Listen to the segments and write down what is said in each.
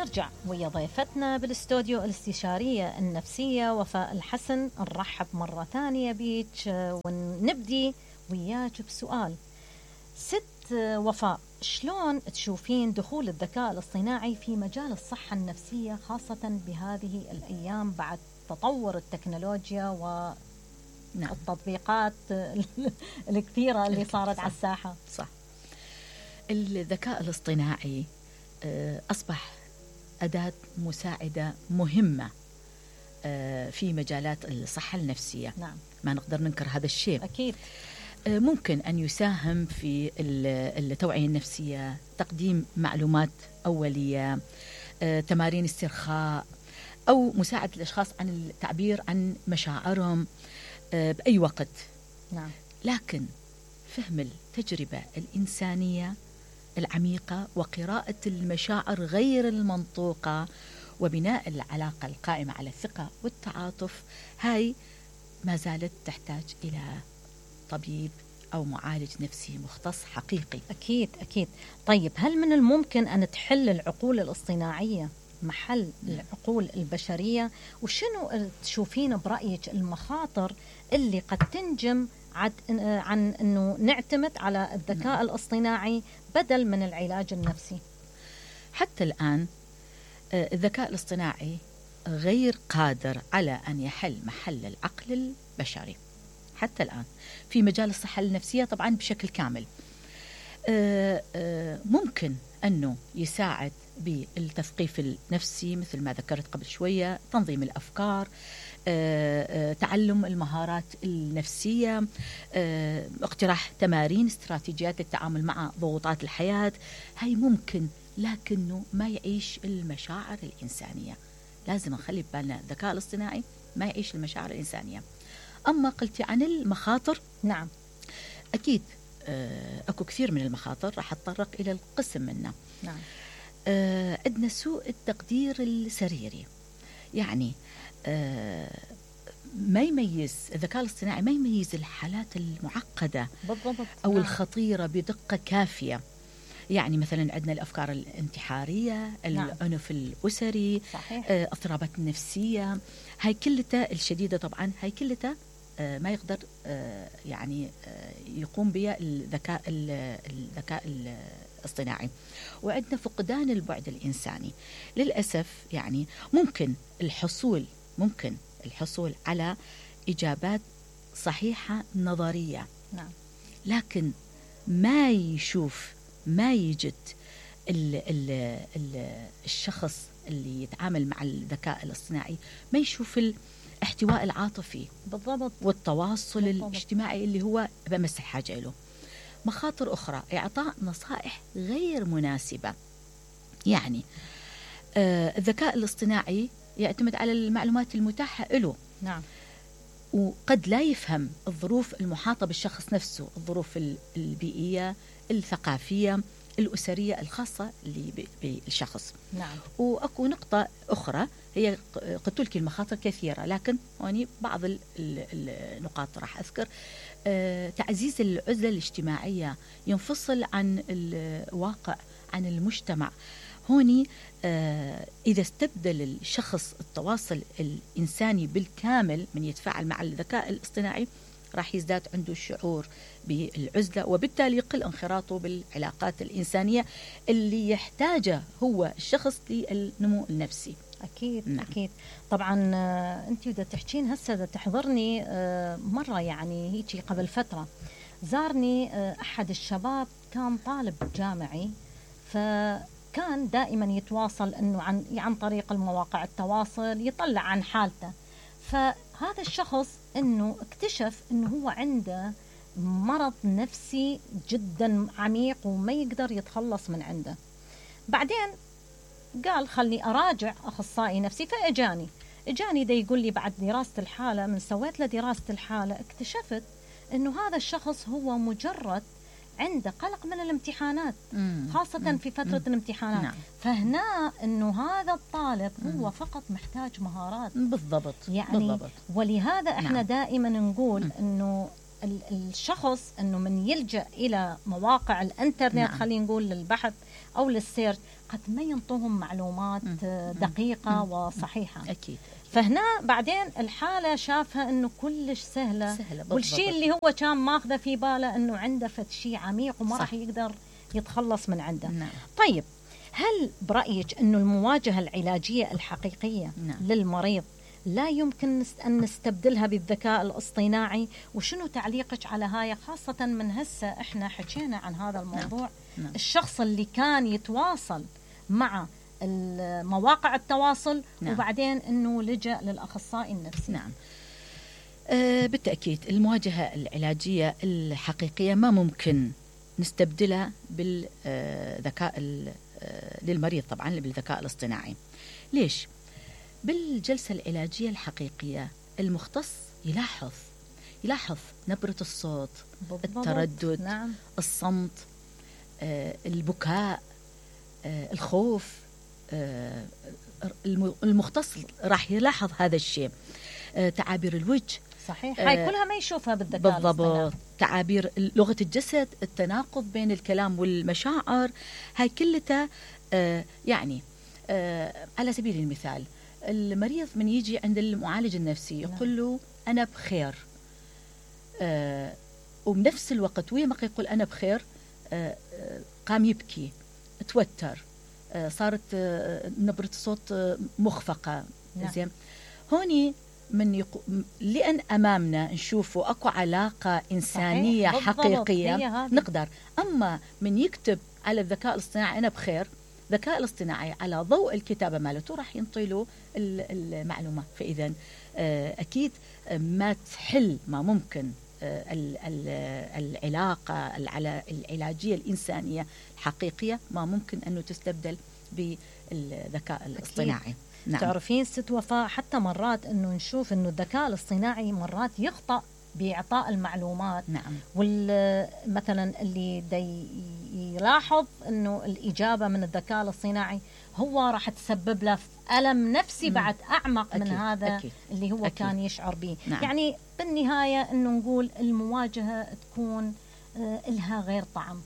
نرجع ويا ضيفتنا بالاستوديو الاستشارية النفسية وفاء الحسن. نرحب مرة ثانية بيك ونبدي وياك بسؤال. ست وفاء، شلون تشوفين دخول الذكاء الاصطناعي في مجال الصحة النفسية خاصة بهذه الأيام بعد تطور التكنولوجيا والتطبيقات الكثيرة اللي صارت على الساحة؟ صح. الذكاء الاصطناعي أصبح أداة مساعدة مهمة في مجالات الصحة النفسية. نعم. ما نقدر ننكر هذا الشيء. أكيد. ممكن أن يساهم في التوعية النفسية، تقديم معلومات أولية، تمارين استرخاء، أو مساعدة الأشخاص عن التعبير عن مشاعرهم بأي وقت. نعم. لكن فهم التجربة الإنسانية العميقة وقراءة المشاعر غير المنطوقة وبناء العلاقة القائمة على الثقة والتعاطف، هاي ما زالت تحتاج إلى طبيب أو معالج نفسي مختص حقيقي. أكيد أكيد. طيب، هل من الممكن أن تحل العقول الاصطناعية محل العقول البشرية؟ وشنو تشوفين برأيك المخاطر اللي قد تنجم عن أنه نعتمد على الذكاء الاصطناعي بدل من العلاج النفسي؟ حتى الآن الذكاء الاصطناعي غير قادر على أن يحل محل العقل البشري حتى الآن في مجال الصحة النفسية طبعا بشكل كامل. ممكن أنه يساعد بالتثقيف النفسي مثل ما ذكرت قبل شوية، تنظيم الأفكار، تعلم المهارات النفسية، اقتراح تمارين استراتيجيات للتعامل مع ضغوطات الحياة. هاي ممكن، لكنه ما يعيش المشاعر الإنسانية. لازم نخلي بالنا الذكاء الاصطناعي ما يعيش المشاعر الإنسانية. أما قلتي عن المخاطر، نعم أكيد أكو كثير من المخاطر، راح أتطرق إلى القسم منها. نعم. عندنا سوء التقدير السريري، يعني ما يميز الذكاء الاصطناعي، ما يميز الحالات المعقدة بالضبط أو نعم. الخطيرة بدقة كافية. يعني مثلا عندنا الأفكار الانتحارية، نعم. العنف الأسري، صحيح. اضطرابات النفسية، هاي كلها الشديدة طبعا، هاي كلها ما يقدر يعني يقوم بها الذكاء الاصطناعي. وعندنا فقدان البعد الإنساني للأسف. يعني ممكن الحصول على إجابات صحيحة نظرية، نعم. لكن ما يجد الشخص اللي يتعامل مع الذكاء الاصطناعي ما يشوف الاحتواء العاطفي بالضبط والتواصل بالضبط. الاجتماعي اللي هو بمس الحاجة له. مخاطر أخرى، إعطاء نصائح غير مناسبة. يعني الذكاء الاصطناعي يعتمد على المعلومات المتاحة له. نعم. وقد لا يفهم الظروف المحاطة بالشخص نفسه، الظروف البيئية، الثقافية، الأسرية الخاصة بالشخص. نعم. وأكو نقطة أخرى، هي قلت لك المخاطر كثيرة، لكن هوني بعض النقاط راح أذكر. تعزيز العزلة الاجتماعية، ينفصل عن الواقع، عن المجتمع. هوني إذا استبدل الشخص التواصل الإنساني بالكامل من يتفاعل مع الذكاء الاصطناعي، راح يزداد عنده الشعور بالعزلة، وبالتالي يقل انخراطه بالعلاقات الإنسانية اللي يحتاجه هو الشخص للنمو النفسي. أكيد. نعم. أكيد. طبعا أنت بدأ تحكين هسه تحضرني مرة، يعني هيك قبل فترة زارني أحد الشباب، كان طالب جامعي، فكان دائما يتواصل أنه عن طريق المواقع التواصل يطلع عن حالته. فهذا الشخص أنه اكتشف أنه هو عنده مرض نفسي جدا عميق وما يقدر يتخلص من عنده. بعدين قال خلني أراجع أخصائي نفسي، فإجاني دا يقول لي بعد دراسة الحالة، من سويت له دراسة الحالة اكتشفت أنه هذا الشخص هو مجرد عنده قلق من الامتحانات، خاصة في فترة الامتحانات. نعم. فهنا أنه هذا الطالب هو فقط محتاج مهارات. بالضبط. يعني بالضبط. ولهذا احنا نعم. دائما نقول أنه الشخص انه من يلجأ الى مواقع الانترنت، نعم. خلينا نقول للبحث او للسيرش، قد ما ينطوهم معلومات دقيقة وصحيحة. أكيد. فهنا بعدين الحالة شافها انه كلش سهلة والشيء اللي هو كان ماخذه في باله انه عنده فد شيء عميق وما راح يقدر يتخلص من عنده. نعم. طيب هل برأيك انه المواجهة العلاجية الحقيقية نعم. للمريض لا يمكن أن نستبدلها بالذكاء الاصطناعي؟ وشنو تعليقك على هاي، خاصة من هسه احنا حكينا عن هذا الموضوع؟ نعم. الشخص اللي كان يتواصل مع مواقع التواصل، نعم. وبعدين انه لجأ للأخصائي النفسي. نعم. بالتأكيد المواجهة العلاجية الحقيقية ما ممكن نستبدلها بالذكاء للمريض، طبعا بالذكاء الاصطناعي. ليش؟ بالجلسة العلاجية الحقيقية المختص يلاحظ نبرة الصوت، التردد، نعم. الصمت، البكاء، الخوف. المختص راح يلاحظ هذا الشيء. تعابير الوجه، صحيح، هاي كلها ما يشوفها بالذكاء الاصطناعي. بالضبط. تعابير لغة الجسد، التناقض بين الكلام والمشاعر، هاي كلها يعني على سبيل المثال المريض من يجي عند المعالج النفسي يقول له أنا بخير، وبنفس الوقت ويا ما يقول أنا بخير قام يبكي، توتر، صارت نبرة الصوت مخفقة. زين، هوني من لأن أمامنا نشوفوا أكو علاقة إنسانية حقيقية نقدر. أما من يكتب على الذكاء الاصطناعي أنا بخير، الذكاء الاصطناعي على ضوء الكتابة مالته راح ينطي له المعلومة. فإذا أكيد ما تحل، ما ممكن العلاقة العلاجية الإنسانية الحقيقية ما ممكن أنه تستبدل بالذكاء الاصطناعي. نعم. تعرفين ست وفاء، حتى مرات أنه نشوف أنه الذكاء الاصطناعي مرات يخطأ بإعطاء المعلومات. نعم. مثلا اللي يلاحظ أنه الإجابة من الذكاء الاصطناعي هو راح تسبب له ألم نفسي بعد أعمق أكيد. من هذا أكيد. اللي هو أكيد. كان يشعر به. نعم. يعني بالنهاية أنه نقول المواجهة تكون إلها غير طعم.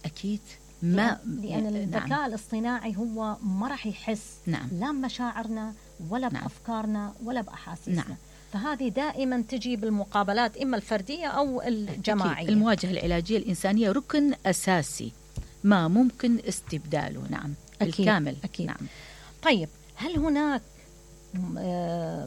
أكيد. لأن الذكاء نعم. الاصطناعي هو ما راح يحس نعم. لا بمشاعرنا ولا نعم. بأفكارنا ولا بأحاسيسنا. نعم. فهذه دائما تجي بالمقابلات إما الفردية أو الجماعية. أكيد. المواجهة العلاجية الإنسانية ركن أساسي ما ممكن استبداله. نعم. أكيد. بالكامل. أكيد. نعم. طيب هل هناك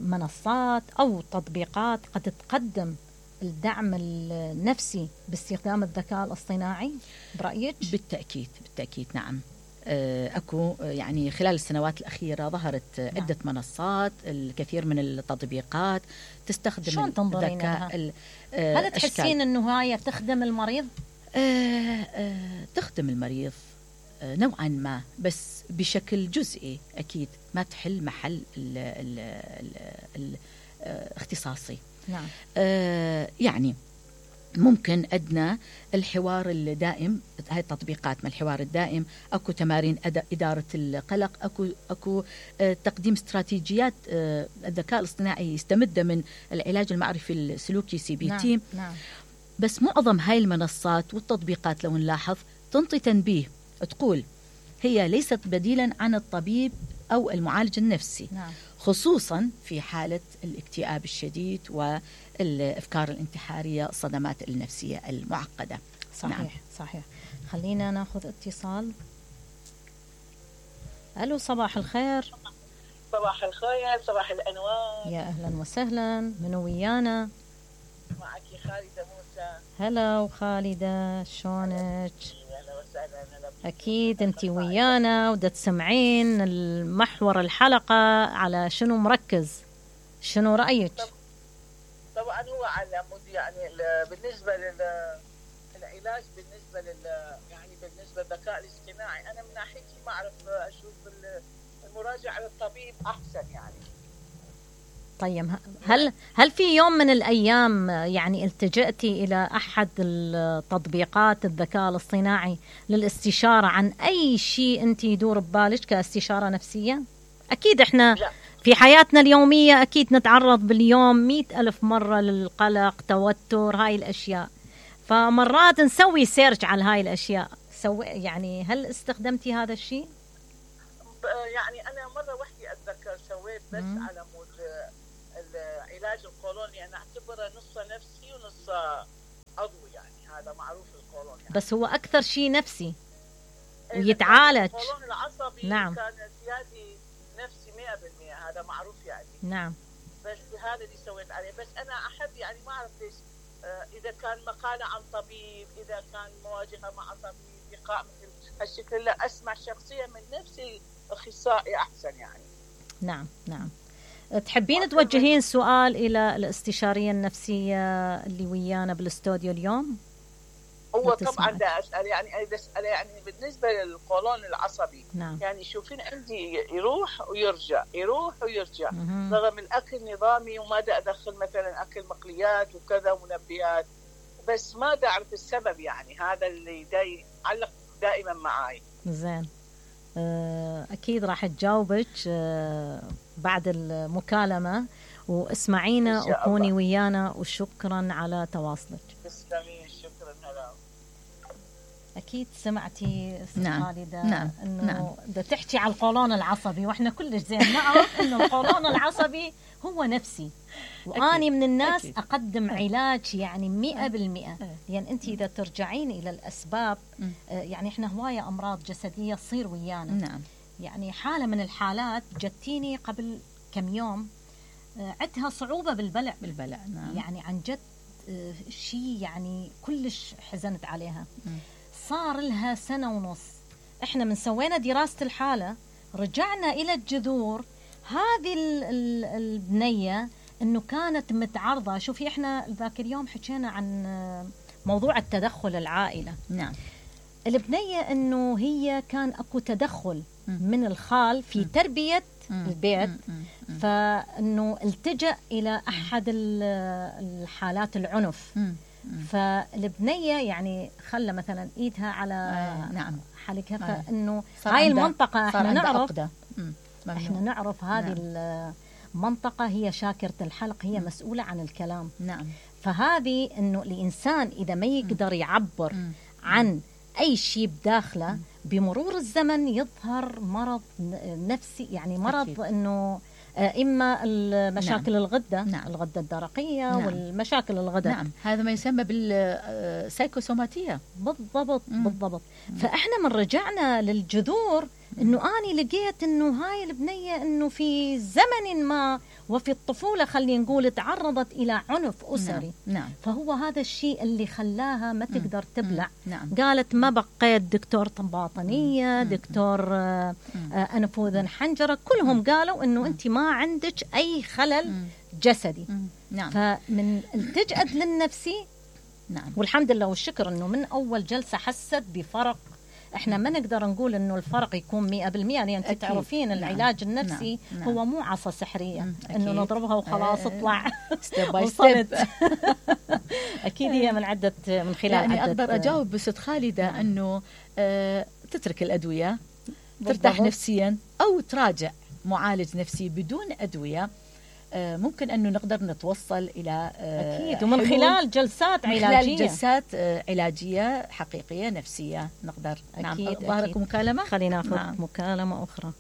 منصات أو تطبيقات قد تقدم الدعم النفسي باستخدام الذكاء الاصطناعي برأيك؟ بالتأكيد نعم. أكو يعني خلال السنوات الأخيرة ظهرت عدة منصات، الكثير من التطبيقات تستخدم شلون تنظرين لها؟ هل تحسين أنه هاي تخدم المريض؟ تخدم المريض نوعا ما، بس بشكل جزئي. أكيد ما تحل محل الاختصاصي. نعم. يعني ممكن أدنى الحوار الدائم، هاي التطبيقات من الحوار الدائم، أكو تمارين إدارة القلق، أكو تقديم استراتيجيات الذكاء الاصطناعي يستمد من العلاج المعرفي السلوكي CBT. نعم. نعم. بس معظم هاي المنصات والتطبيقات لو نلاحظ تنطي تنبيه، تقول هي ليست بديلا عن الطبيب أو المعالج النفسي. نعم. خصوصا في حالة الاكتئاب الشديد والأفكار الانتحارية، الصدمات النفسية المعقدة. صحيح. نعم. صحيح. خلينا ناخذ اتصال. ألو، صباح الخير. صباح الخير، صباح الأنوار. يا أهلا وسهلا، منو ويانا؟ معك خالدة موسى. هلا وخالدة، شلونك؟ أهلا وسهلا. أكيد أنت ويانا ودا تسمعين المحور الحلقة على شنو مركز، شنو رأيك؟ طبعا هو على مود يعني بالنسبة للعلاج، بالنسبة يعني بالنسبة للذكاء الاصطناعي، أنا من ناحيتي ما أعرف، أشوف المراجعة للطبيب أحسن يعني. طيب هل في يوم من الأيام يعني التجأتي إلى أحد التطبيقات الذكاء الاصطناعي للاستشارة عن أي شيء أنت يدور ببالك كاستشارة نفسية؟ أكيد إحنا لا. في حياتنا اليومية أكيد نتعرض باليوم 100,000 مرة للقلق، توتر، هاي الأشياء. فمرات نسوي سيرش على هاي الأشياء. يعني هل استخدمتي هذا الشيء؟ يعني أنا مرة وحدي أتذكر سويت بس على مود العلاج القولوني، أنا أعتبره نص نفسي ونص عضوي، يعني هذا معروف القولون يعني. بس هو أكثر شيء نفسي ويتعالج. القولون العصبي نعم. كان زيادة نفسي 100%، هذا معروف يعني. نعم. بس هذا اللي سويت عليه. بس أنا أحب يعني ما أعرف ليش، إذا كان مقالة عن طبيب، إذا كان مواجهة مع طبيب، لقاء مثل هالشكل، لا أسمع شخصيا من نفسي أخصائي أحسن يعني. نعم نعم. تحبين توجهين سؤال إلى الاستشارية النفسية اللي ويانا بالاستوديو اليوم؟ هو طبعا دا أسأل يعني أسأل يعني بالنسبة للقولون العصبي. نعم. يعني شوفين عندي يروح ويرجع، يروح ويرجع، رغم الأكل نظامي وما دا أدخل مثلا أكل مقليات وكذا ومنبهات، بس ما دا أعرف السبب يعني. هذا اللي يعلق دائما معاي. زين. أكيد راح تجاوبك بعد المكالمة، واسمعينا وكوني ويانا، وشكرا على تواصلك. تسلمي، شكرا. هلا. أكيد سمعتي نعم. خالدة نعم. إنه نعم. ده تحكي على القولون العصبي، وإحنا كلش زين نعرف إنه القولون العصبي هو نفسي، وأني من الناس أكيد. أقدم علاج يعني 100%. يعني أنت إذا ترجعين إلى الأسباب، يعني إحنا هواية أمراض جسدية تصير ويانا. نعم. يعني حالة من الحالات جتيني قبل كم يوم، عندها صعوبة بالبلع. نعم. يعني عن جد شيء يعني كلش حزنت عليها. صار لها 1.5 سنة. احنا من سوينا دراسة الحالة، رجعنا إلى الجذور. هذه البنية انه كانت متعرضة. شوفي احنا ذاك اليوم حكينا عن موضوع التدخل العائلة. نعم. البنية انه هي كان اكو تدخل من الخال في تربية البيت، فانه التجأ الى احد الحالات العنف. فالبنية يعني خلى مثلا ايدها على نعم حلقها، فانه هاي المنطقة احنا نعرف هذه المنطقة هي شاكرة الحلق، هي مسؤولة عن الكلام. نعم. فهذه انه الانسان اذا ما يقدر يعبر عن اي شيء بداخله، بمرور الزمن يظهر مرض نفسي، يعني مرض أكيد. انه إما المشاكل الغدة، الغدة الدرقية، والمشاكل الغدة. نعم. هذا ما يسمى بالسايكوسوماتية. بالضبط. فإحنا من رجعنا للجذور، إنه أنا لقيت إنه هاي البنية إنه في زمن ما وفي الطفولة خلينا نقول تعرضت إلى عنف أسري. نعم. فهو هذا الشيء اللي خلاها ما تقدر تبلع. نعم. قالت ما بقيت دكتور باطنية، دكتور أنف وأذن حنجرة، كلهم قالوا إنه أنت ما عندك أي خلل جسدي. نعم. فمن التجأت للنفسي. نعم. والحمد لله والشكر إنه من أول جلسة حست بفرق. احنا ما نقدر نقول انه الفرق يكون 100%، يعني انت تعرفين العلاج النفسي هو مو عصا سحرية انه نضربها وخلاص اطلع ستيب باي ستيب. اكيد هي من خلال يعني اقدر اجاوب بست خالدة انه تترك الادوية، ترتاح نفسيا، او تراجع معالج نفسي بدون ادوية. ممكن أنه نقدر نتوصل إلى أكيد، ومن خلال جلسات علاجية، خلال جلسات علاجية حقيقية نفسية نقدر. أكيد. نعم. ظهرك مكالمة، خلينا ناخذ مكالمة أخرى.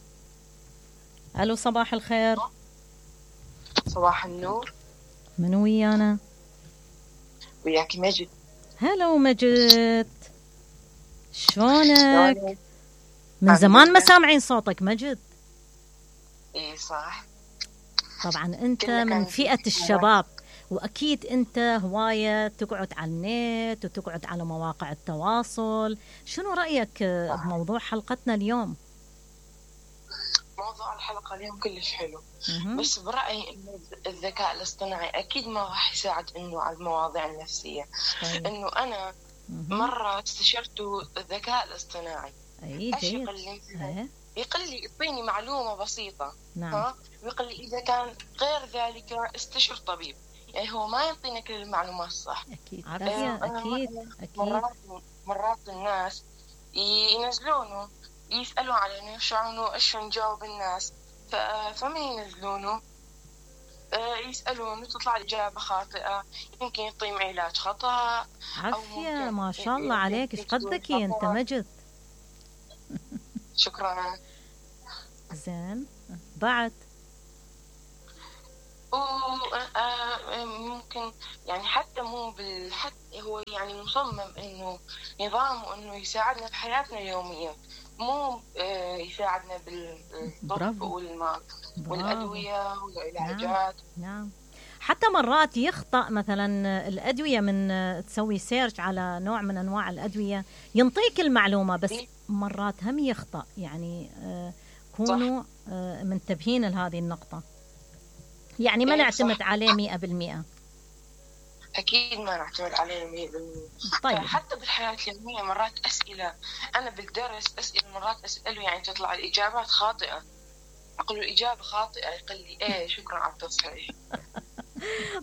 ألو، صباح الخير. صباح النور. من ويانا؟ وياك مجد. هلو مجد، شلونك؟ من زمان ما سامعين صوتك مجد. إيه صح. طبعا أنت من فئة الشباب، وأكيد أنت هواية تقعد على النت وتقعد على مواقع التواصل. شنو رأيك بموضوع حلقتنا اليوم؟ موضوع الحلقة اليوم كلش حلو. بس برأيي إنه الذكاء الاصطناعي أكيد ما راح يساعد إنه على المواضيع النفسية. طيب. إنه أنا مرة استشرت الذكاء الاصطناعي. يقول لي يعطيني معلومة بسيطة. نعم. ويقول لي إذا كان غير ذلك استشر طبيب. يعني هو ما يعطينا كل المعلومات الصح. أكيد. مرات الناس ينزلونه يسألوا على إنه إيش نجاوب الناس، فمن ينزلونه يسألونه تطلع الإجابة خاطئة، يمكن يعطيهم علاج خطأ. عافية، ما شاء الله عليك، ايش قد ذكي انت مجد. شكرا. زين، بعد ممكن يعني حتى مو حتى هو يعني مصمم انه نظامه انه يساعدنا في حياتنا اليومية، مو يساعدنا بالطب والأدوية والعلاجات. نعم. حتى مرات يخطأ مثلا الأدوية، من تسوي سيرش على نوع من أنواع الأدوية ينطيك المعلومة، بس مرات هم يخطأ. يعني كونوا منتبهين لهذه النقطة، يعني ما نعتمد عليه 100%. أكيد ما نعتمد عليه 100%. طيب حتى بالحياة اليومية مرات أسئلة أنا بالدرس مرات أسأله يعني تطلع الإجابات خاطئة، أقول له الإجابة خاطئة، يقول لي إيه شكرا على التصحيح.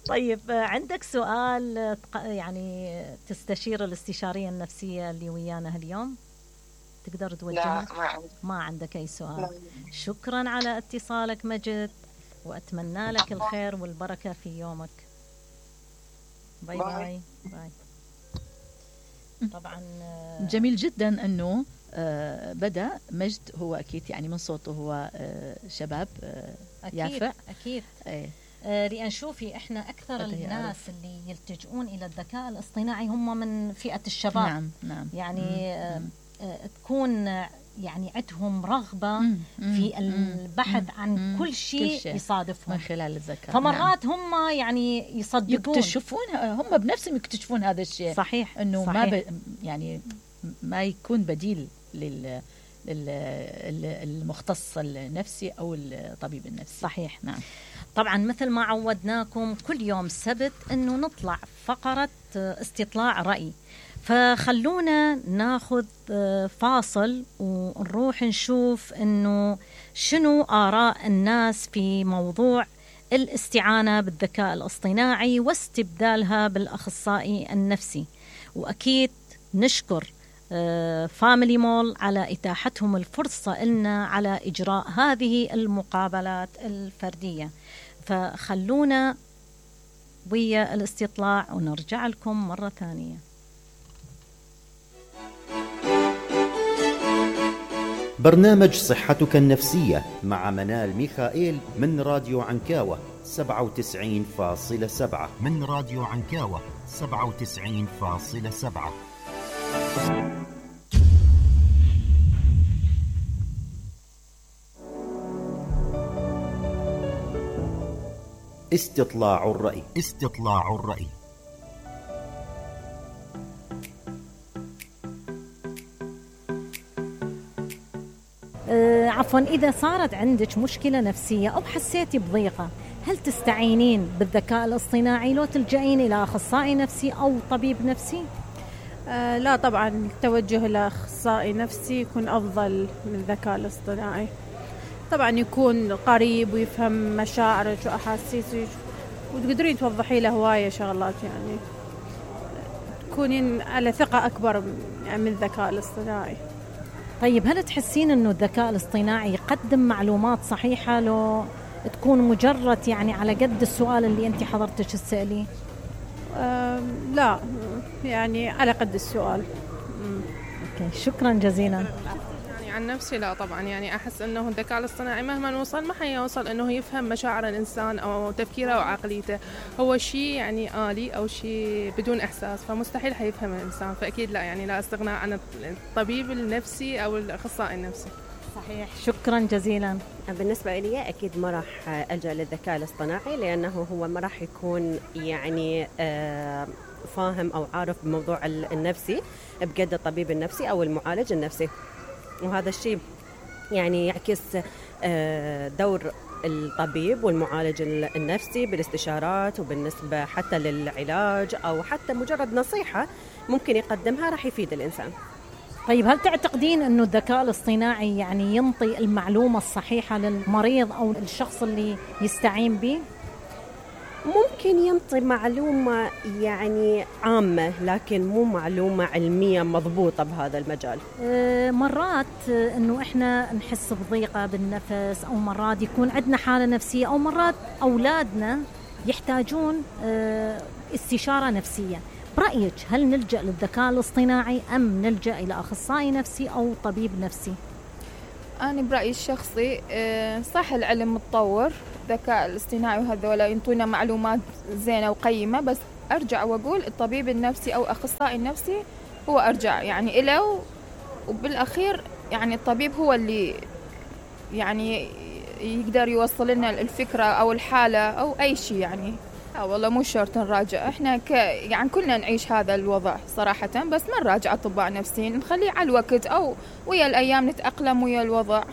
طيب عندك سؤال يعني تستشير الاستشارية النفسية اللي ويانا اليوم تقدر توجهه؟ لا ما عندك أي سؤال. لا. شكرا على اتصالك مجد، وأتمنى لك الخير والبركة في يومك. باي باي باي. طبعا جميل جدا أنه بدأ مجد، هو أكيد يعني من صوته هو شباب يافع. أكيد. لأن شوفي إحنا أكثر الناس اللي يلتجؤون إلى الذكاء الاصطناعي هم من فئة الشباب. نعم. يعني تكون يعني عندهم رغبة في البحث عن كل شيء يصادفهم من خلال الذكاء. فمرات هم يعني يصدقون، يكتشفون هم بنفسهم يكتشفون هذا الشيء. صحيح. إنه ما يعني ما يكون بديل للمختص النفسي أو الطبيب النفسي. صحيح. نعم. طبعا مثل ما عودناكم كل يوم سبت أنه نطلع فقرة استطلاع رأي، فخلونا ناخذ فاصل ونروح نشوف أنه شنو آراء الناس في موضوع الاستعانة بالذكاء الاصطناعي واستبدالها بالأخصائي النفسي. وأكيد نشكر فاميلي مول على إتاحتهم الفرصة لنا على إجراء هذه المقابلات الفردية. فخلونا ويا الاستطلاع ونرجع لكم مرة ثانية. برنامج صحتك النفسية مع منال ميخائيل من راديو عنكاوة 97.7. من راديو عنكاوة 97.7. استطلاع الرأي. استطلاع الرأي. عفوا، إذا صارت عندك مشكلة نفسية أو حسيتي بضيقة، هل تستعينين بالذكاء الاصطناعي لو تلجئين إلى أخصائي نفسي أو طبيب نفسي؟ لا طبعا، التوجه إلى أخصائي نفسي يكون أفضل من الذكاء الاصطناعي. طبعا يكون قريب ويفهم مشاعرك وأحاسيسك، وتقدرين توضحي له هواية شغلات، يعني تكونين على ثقة أكبر من الذكاء الاصطناعي. طيب هل تحسين أنه الذكاء الاصطناعي يقدم معلومات صحيحة لو تكون مجرد يعني على قد السؤال اللي أنت حضرتك تسأليه؟ لا، يعني على قد السؤال. أوكي، شكرا جزيلا. يعني عن نفسي لا طبعا، يعني أحس أنه الذكاء الاصطناعي مهما وصل ما حيوصل أنه يفهم مشاعر الإنسان أو تفكيره وعقليته. هو شيء يعني آلي أو شيء بدون إحساس، فمستحيل حيفهم الإنسان. فأكيد لا، يعني لا استغناء عن الطبيب النفسي أو الأخصائي النفسي. صحيح، شكرا جزيلا. بالنسبة لي أكيد ما راح ألجأ للذكاء الاصطناعي، لأنه هو ما راح يكون يعني فاهم أو عارف بموضوع النفسي بقد الطبيب النفسي أو المعالج النفسي. وهذا الشيء يعني يعكس دور الطبيب والمعالج النفسي بالاستشارات، وبالنسبة حتى للعلاج أو حتى مجرد نصيحة ممكن يقدمها راح يفيد الإنسان. طيب هل تعتقدين أنه الذكاء الاصطناعي يعني ينطي المعلومة الصحيحة للمريض أو الشخص اللي يستعين به؟ ممكن ينطي معلومة يعني عامة، لكن مو معلومة علمية مضبوطة بهذا المجال. مرات أنه إحنا نحس بضيقة بالنفس، أو مرات يكون عندنا حالة نفسية، أو مرات أولادنا يحتاجون استشارة نفسية. برأيك هل نلجأ للذكاء الاصطناعي أم نلجأ إلى أخصائي نفسي أو طبيب نفسي؟ أنا برأيي الشخصي صح العلم متطور، الذكاء الاصطناعي وهذولا ينطونا معلومات زينة وقيمة، بس أرجع وأقول الطبيب النفسي أو أخصائي النفسي هو أرجع يعني إله، وبالأخير يعني الطبيب هو اللي يعني يقدر يوصل لنا الفكرة أو الحالة أو أي شيء يعني. والله مو شرط نراجع، احنا يعني كلنا نعيش هذا الوضع صراحة، بس ما نراجع أطباء نفسيين، نخليه على الوقت أو ويا الأيام نتأقلم ويا الوضع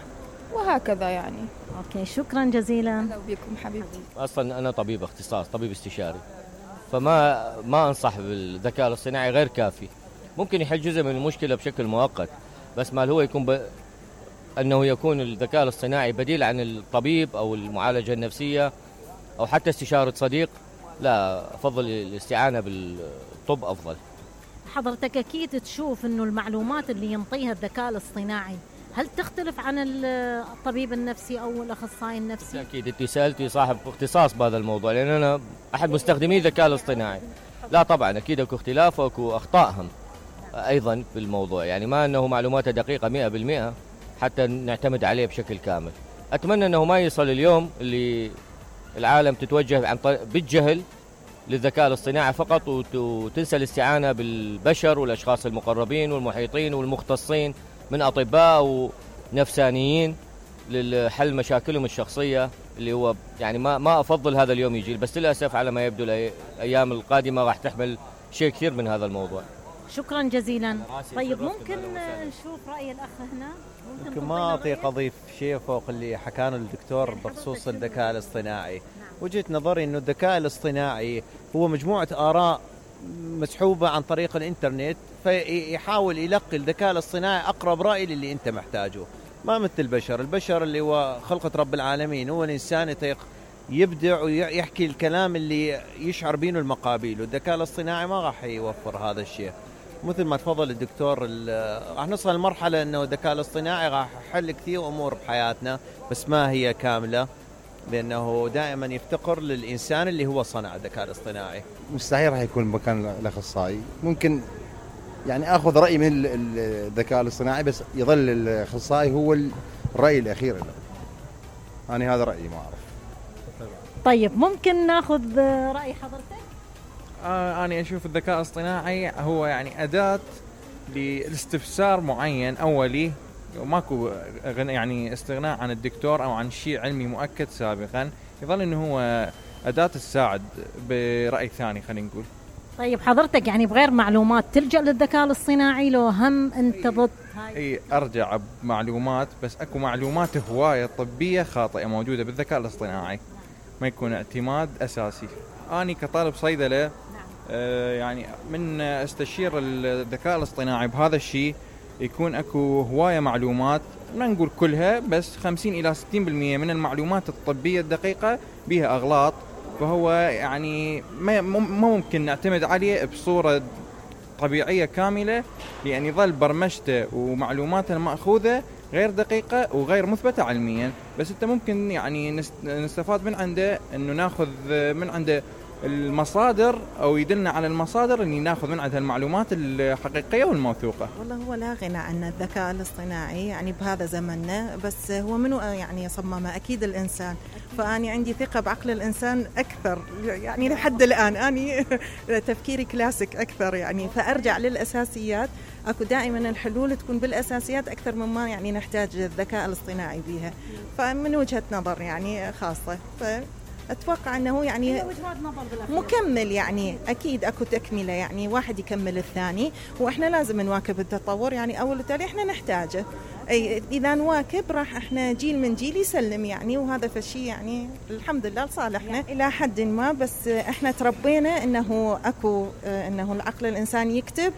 وهكذا يعني. أوكي، شكرا جزيلا. أهلا بكم حبيبتي. أصلا أنا طبيب اختصاص، طبيب استشاري، فما أنصح بالذكاء الاصطناعي، غير كافي. ممكن يحل جزء من المشكلة بشكل مؤقت، بس ما هو يكون أنه يكون الذكاء الاصطناعي بديل عن الطبيب أو المعالجة النفسية أو حتى استشارة صديق، لا، أفضل الاستعانة بالطب أفضل. حضرتك أكيد تشوف أنه المعلومات اللي ينطيها الذكاء الاصطناعي هل تختلف عن الطبيب النفسي أو الأخصائي النفسي؟ أكيد أنت سألتي صاحب اختصاص بهذا الموضوع، لأن أنا أحد مستخدمي الذكاء الاصطناعي. لا طبعا أكيد أكو اختلاف وأكو أخطاءهم أيضا بالموضوع، يعني ما أنه معلوماته دقيقة 100% حتى نعتمد عليه بشكل كامل. أتمنى أنه ما يصل اليوم اللي العالم تتوجه عن طريق بالجهل للذكاء الاصطناعي فقط، وتنسى الاستعانة بالبشر والأشخاص المقربين والمحيطين والمختصين من أطباء ونفسانيين للحل مشاكلهم الشخصية، اللي هو يعني ما أفضل هذا اليوم يجي، بس للأسف على ما يبدو الأيام القادمة راح تحمل شيء كثير من هذا الموضوع. شكرا جزيلا. طيب ممكن نشوف رأي الأخ هنا؟ ممكن ما أطيق أضيف شيء فوق اللي حكانه الدكتور بخصوص الذكاء الاصطناعي. وجهة نظري أنه الذكاء الاصطناعي هو مجموعة آراء مسحوبة عن طريق الإنترنت، فيحاول يلقي الذكاء الاصطناعي أقرب رأي للي أنت محتاجه، ما مثل البشر اللي هو خلقة رب العالمين، هو الإنسان يطيق يبدع ويحكي الكلام اللي يشعر بينه المقابل، والذكاء الاصطناعي ما راح يوفر هذا الشيء. مثل ما تفضل الدكتور، راح نوصل لمرحلة أنه الذكاء الاصطناعي راح يحل كثير أمور بحياتنا، بس ما هي كاملة، لأنه دائما يفتقر للإنسان اللي هو صنع الذكاء الاصطناعي. مستحيل راح يكون مكان الأخصائي. ممكن يعني أخذ رأي من الذكاء الاصطناعي، بس يظل الأخصائي هو الرأي الأخير له. أنا هذا رأيي، ما أعرف. طيب ممكن ناخذ رأي حضرتك؟ أنا أشوف الذكاء الاصطناعي هو يعني أداة لاستفسار معين أولي، وماكو يعني استغناء عن الدكتور أو عن شيء علمي مؤكد سابقا، يظل إنه هو أداة تساعد برأي ثاني خلينا نقول. طيب حضرتك يعني بغير معلومات تلجأ للذكاء الاصطناعي لو هم أنت ضد هاي؟ أي أرجع بمعلومات، بس أكو معلومات هواية طبية خاطئة موجودة بالذكاء الاصطناعي، ما يكون اعتماد أساسي. أنا كطالب صيدلة يعني من استشير الذكاء الاصطناعي بهذا الشيء، يكون اكو هواية معلومات، ما نقول كلها، بس 50 إلى 60% من المعلومات الطبية الدقيقة بها أغلاط، فهو يعني ما ممكن نعتمد عليه بصورة طبيعية كاملة، لأن يظل برمجته ومعلوماته المأخوذة غير دقيقة وغير مثبتة علميا. بس انت ممكن يعني نستفاد من عنده، انه ناخذ من عنده المصادر او يدلنا على المصادر اللي ناخذ من عندها المعلومات الحقيقية والموثوقة. والله هو لا غنى عن الذكاء الاصطناعي يعني بهذا زمننا، بس هو منو يعني صممه؟ اكيد الانسان. فاني عندي ثقة بعقل الانسان اكثر يعني لحد الان، اني تفكيري كلاسيك اكثر يعني، فارجع للاساسيات. اكو دائما الحلول تكون بالاساسيات اكثر مما يعني نحتاج الذكاء الاصطناعي بها، فمن وجهة نظر يعني خاصة. أتوقع أنه يعني مكمل، يعني أكيد أكو تكملة، يعني واحد يكمل الثاني، وإحنا لازم نواكب التطور يعني أول وتالي إحنا نحتاجه. أي إذا نواكب راح إحنا جيل من جيل يسلم يعني، وهذا فشي يعني الحمد لله لصالحنا إلى حد ما. بس إحنا تربينا إنه أكو إنه العقل الإنسان يكتب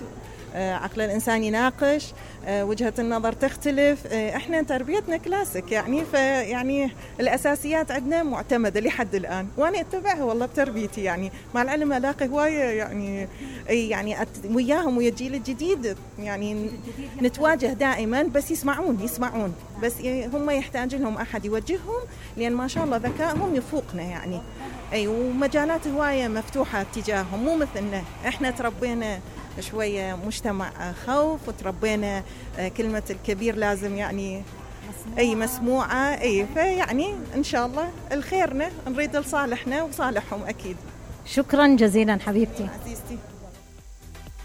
عقل الإنسان يناقش، وجهة النظر تختلف. إحنا تربيتنا كلاسيك يعني، فيعني الأساسيات عندنا معتمدة لحد الآن، وأنا أتبعها والله بتربيتي يعني. مع العلم ألاقي هواية يعني وياهم ويا الجيل الجديد يعني نتواجه دائما، بس يسمعون بس هم يحتاج لهم أحد يوجههم، لأن ما شاء الله ذكائهم يفوقنا يعني. ومجالات هواية مفتوحة تجاههم، مو مثلنا. إحنا تربينا شوية مجتمع خوف، وتربينا كلمة الكبير لازم يعني مسموعة. فيعني إن شاء الله الخيرنا نريد لصالحنا وصالحهم أكيد. شكرا جزيلا حبيبتي عزيزتي.